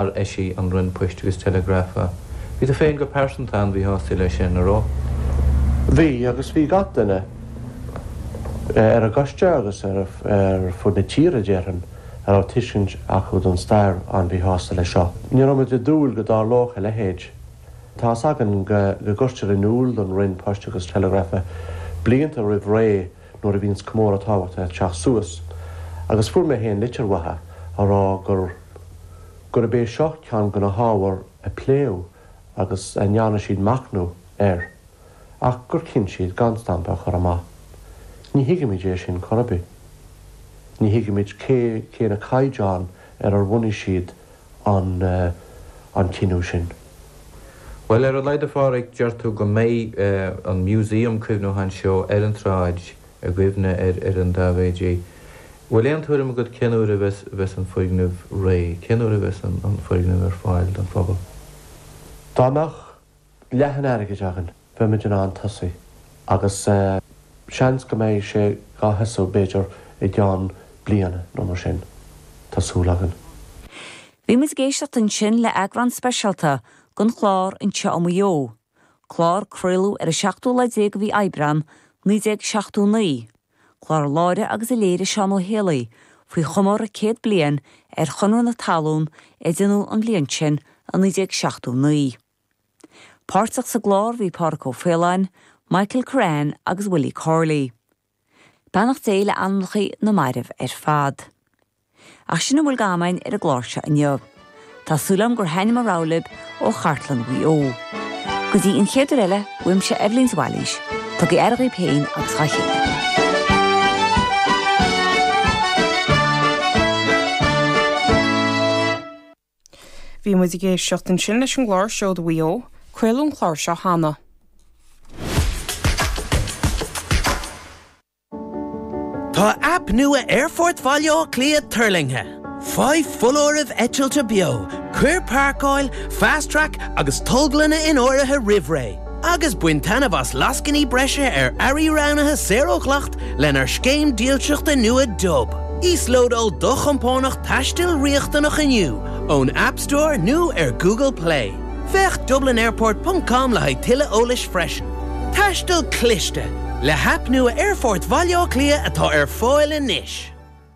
Ar eisigh an Roinn Poist agus Teileagrafa. Bhí tú féin go pearsanta an-mhíshásta leis sin, a raibh? Bhí, agus bhí gach duine ar an gcoiste agus ar fud na tíre, déarfainn, a raibh tuiscint acu don stair an-mhíshásta leis seo. Ní raibh muid ag dúil go dtarlódh a leithéid. Tá fhios againn go gcuirtear in iúl don Roinn Poist agus Teileagrafa blianta roimh ré nuair a bhíonns comóradh tábhachtach ag teacht suas, agus fuair mé féin litir uathu a rá gur gurb é seo ceann de na hábhair a pléadh agus a ndearna siad machnamh air, ach gur chinn siad gan stampa a chur amach. Ní thuigimid é sin chor ar bith. Ní thuigimid cé cé na caighdeáin ar ar bhunaigh siad an an cinneadh sin. Bhuel, ar a laghad a Pháraic, deir tú go mbeidh an museum cuimhniúcháin seo ar an tsráid i gcuimhne ar an Daibhéidí. Bhfuil aon tuairim agat cén uair a bheas an foirgneamh réidh? Cén uair a bheas an foirgneamh ar fáil don phobal? Dá mbeadh leath an airgid againn, bheimid in ann tosaí agus seans go mbeidh sé dhá thosú b'fhéidir i gceann bliana nó mar sin. Tá súil againn. Bhí muid ag éisteacht ansin le eagrán speisialta den chlár Anseo i Maigh Eo, clár a craoladh ar an seachtú lá déag de mhí Aibreán, 1979, clár a láithrigh agus a léirigh Seán Ó Héalaí faoi chomóradh 100 bliain ar Chonradh na Talún a déanadh an bhliain sin i 1979. Páirteach sa gclár bhí Pádhraic Ó Faoláin, Michael Currane agus Willie Corley. Beannacht Dé le anamnacha na mairbh ar fad. Ach sin a bhfuil d'am againn ar an gclár seo inniu. Tá súil agam gur thaithin mo rogha libh ó chartlann Mhaigh Eo. Go dtí an chéad uair eile, uaimse Eibhlín de Bhailís, tugaigí aire dhaoibh féin agus dhá chéile. Bhí muid ag éisteacht ansin leis an gclár Seoda Mhaigh Eo. Craoladh an clár seo cheana. Tá aip nua Aerfort Bhaile Átha Cliath tuirlingthe. Faigh foláirimh eitilte beo, cuir páirceáil, Fast Track agus tolglanna in áirithe roimh ré, agus bain taitneamh as lascainí breise ar earraí roghnaithe saor ó dhleacht lenár scéim dílseachta nua Dub. Íoslódáil do chompánach taistil riachtanach inniu ón App Store nó ar Google Play. Féach dublinairport ponc com le haghaidh tuilleadh eolais freisin. Taisteal cliste le haip nua Aerfort Bhaile Átha Cliath atá ar fáil anois!